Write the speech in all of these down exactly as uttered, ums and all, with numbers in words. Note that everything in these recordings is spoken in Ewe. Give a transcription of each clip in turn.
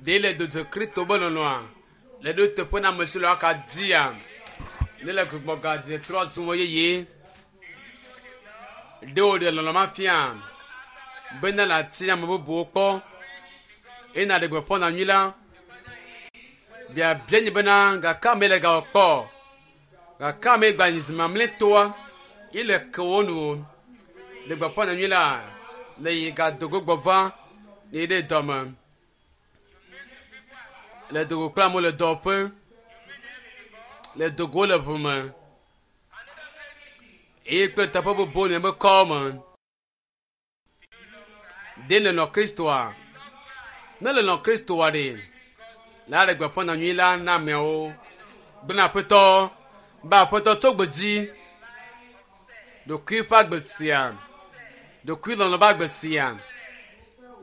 Ɖe le dodo Kristo be lɔlɔ̃a le ɖo teƒe na ame si le aka dzia. Ne le gbugbɔ gadze trɔ zu wo yeye. Ɖe wòɖe lɔlɔ̃ ma fia bena le ati ame bubuwo kpɔ eye nàɖe gbeƒã nyanyui la. Biabia nye bena gake ame le gawɔ kpɔ gake ame gba nyi zi mamlɛtɔa ye le ke wo nu le gbeƒã nyanyui la le yi gadogo gbɔ va le yi ɖe dɔme. Le dogo kple amewo le dɔwɔƒe le dogo le ʋu me eye kple teƒe bubuwo le miaƒe kɔwo me. Ɖe nèlɔ̃ Kristoa? Ne lelɔ̃ Kristoa ɖe, la ɖe gbeƒã nyanyui la na ameawo. Gblɔ Aƒetɔ be Aƒetɔ tso gbe dzi ɖokui ƒe agbe sia, ɖokui lɔlɔ̃ ƒe agbe sia,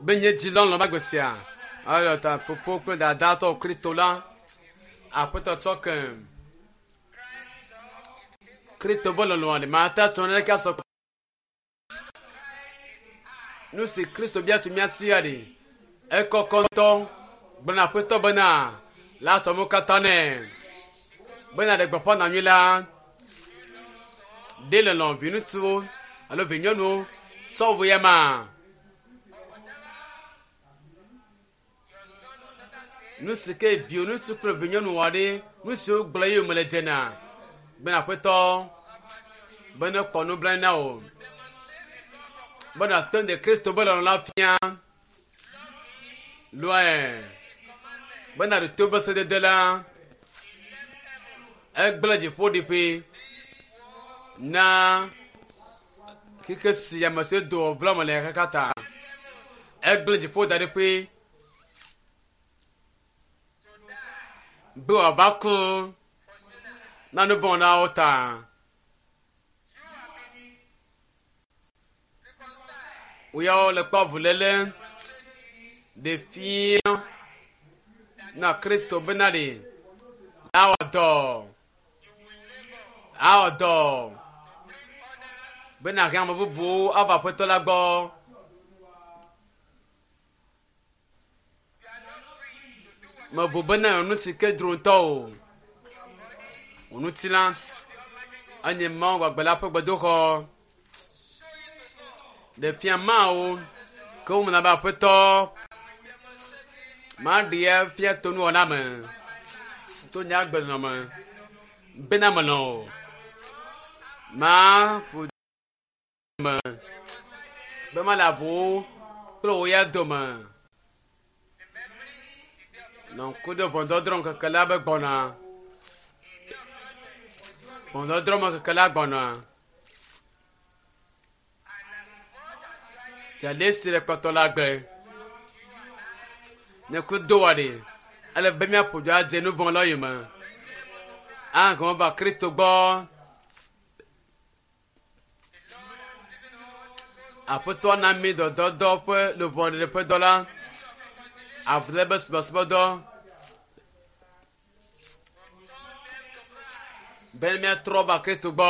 be nye dzi lɔlɔ̃ ƒe agbe sia. Eya ta fofo kple dada tɔ Kristo la, Aƒetɔ tsɔ ke. Kristo be lɔlɔ̃a ɖe mate ŋu naneke asɔ. Nu si Kristo bia tso mía sia ɖe, ekɔkɔ ŋutɔ. Gblɔ na Aƒetɔ bena la sɔ mo katã nɛ. Bena ɖe gbeƒã nyanyui la, ɖe lɔlɔ̃ viŋutsuwo alo vinyɔnuwo tsɔ wu ya ma. Nu si ke viwò ŋutsu kple vinyɔnu wɔ ɖe, nu siwo gblɔ ye wòme le dzena. Bena Aƒetɔ bene kpɔ nublanui na wò. Bena te ɖe Kristo be lɔlɔ̃ la fia. Lɔe. Bena ɖe to be sedede la, egblẽ dziƒoɖiƒe na xexe sia me si do vlɔ me le xexea ta. Egblẽ dziƒo da ɖi ƒe be wòava ku na nu vɔ̃ na wo ta. Woyawo le kpɔ avuléle ɖe fia na Kristo bena ɖe awɔ dɔ awɔ dɔ bena he ame bubuwo ava Aƒetɔ la gbɔ. Mevo bena nu si ke dzro ŋutɔ o. Wò ŋutilã enye Mawu gbagbe la ƒe gbedoxɔ. Ɖe fia Mawu ke womena be Aƒetɔ maɖe fia to nuwɔna me, to nye agbenɔnɔ me bena melɔ̃ o. Maƒo me be mele avuwo kple wò ya dome. Nɔ ŋku ɖe ʋɔnudɔdrɔ̃ ŋkeke la be gbɔna. Ʋɔnudɔdrɔ̃ ŋkeke la gbɔna. Fiaɖe si le kpɔtɔ le agbe. Ne ku do wɔ ɖe, ele be míaƒo dzo adze nu vɔ̃ la yome. Ahɔ va Kristo gbɔ. Aƒetɔ na mí dɔdɔdɔ ƒe luʋɔ ɖeɖe ƒe dɔ la. Avuléle be subɔsubɔdɔ. Be míatrɔ va Kristo gbɔ.